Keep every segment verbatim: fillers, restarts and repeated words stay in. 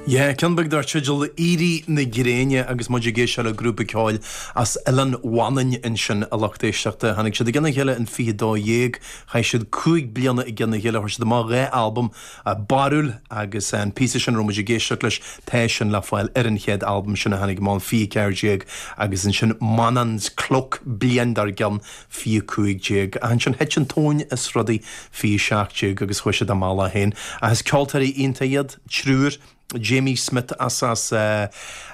Yeah, ceann beag dar teideal Éirí na Gréine agus muid ag éisteacht le grúpa ceoil as Oileán Mhanainn ansin a lucht éisteachta. Tháinig siad i gcionn a chéile in fiche dó dhéag, chaith siad cúig bliana i gcionn a chéile, chuir siad amach dhá albam barrúil agus an píosa sin a raibh muid ag éisteacht leis tá sin le fáil ar an chéad albam sin a tháinig amach in fiche ceathair déag agus ansin Manann's Cloak bliain dár gcionn fiche cúig déag. Ansin thit an tóin as rudaí fiche seacht déag agus chuaigh siad a mbealach féin. Ach is ceoltóirí iontacha iad, triúr, Jamie Smith as as uh,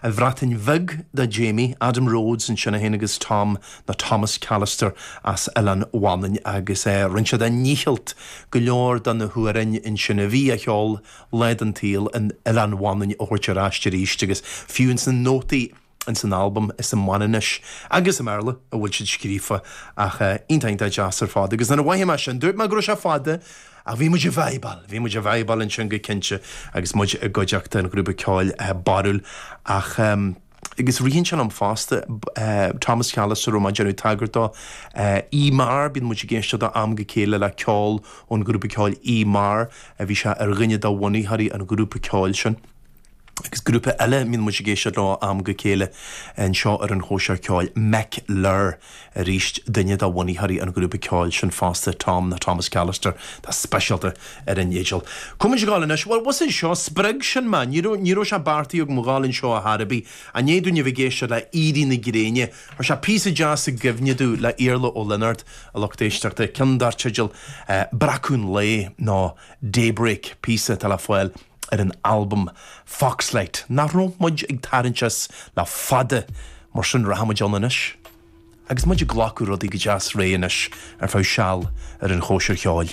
an Bhreatain Bheag do Jamie, Adam Rhodes ansin féin agus Tom na Thomas Callister as Oileán Mhanainn agus uh, rinne siad a ndícheall go leor de na hamhráin ansin a bhí á cheol lá den tsaol in Oileán Mhanainn a thabhairt ar ais arís agus fiú ins na nótaí in san albam is i Manainnis agus i mBéarla a bhfuil siad scríofa ach uh, iontach iontach deas ar fad agus nuair a mhothaigh mé sin dúirt mé go raibh sé fada ach bhí muid ag vibeáil, bhí muid ag vibeáil ansin go cinnte agus muid i gcuideachta an ghrúpa ceoil uh, barúil ach um, agus ritheann sé liom fosta uh, Thomas Callister má déanú tagairt dó uh, Ímar bíonn muid ag éisteacht ó am go chéile le ceol ón grúpa ceoil Ímar a bhí sé ar dhuine de bhunaitheoirí an grúpa ceoil sin. Agus grúpa eile mbíonn muid ag éisteacht leo am go chéile anseo ar an chóisir ceoil Mec Lir arís duine de bhunaitheoirí an grúpa ceoil sin fosta Tom na Thomas Callister tá speisialta ar an éideal. Cum gáil anois, well was seo spreag sin mé, ní raibh sé beartaithe agam a ghabháil anseo ar chor ar bith, i ndiaidh dúinn a bheith ag éisteacht le Éirí na Gréine, Chuir sé píosa deas i gcuimhne domh le Iarla Ó Lionáird a lucht éisteachta ceann dar teideal uh, Breacadh an Lae nó Daybreak píosa atá le fáil ar an albam Foxlight. Nach raibh muid ag tarraingt as le fada mar sin rachaimid ann anois. Agus muid ag glacadh rudaí go deas réidh anois ar feadh seal ar an chóisir cheoil.